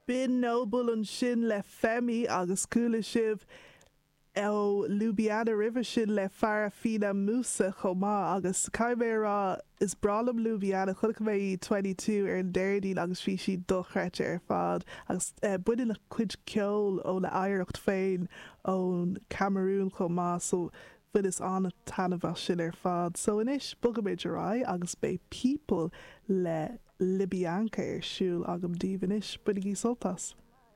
B'in Noble ansin le Femi agus chuala sibh ó Lubiana roimhe sin le Farafina Musa chomh maith agus caithfidh mé a rá is breá liom Lubiana, chonaic mé í 22 ar an Déardaoin agus bhí sí dochreidte ar fad agus baineann a cuid ceoil óna hoidhreacht féin ón Camarún chomh maith so bhaineas an-taitneamh as sin ar fad. So anois bogfaimid ar aghaidh agus beidh People le Libianca ar siúl agam daoibh anois. Bainigí sult as!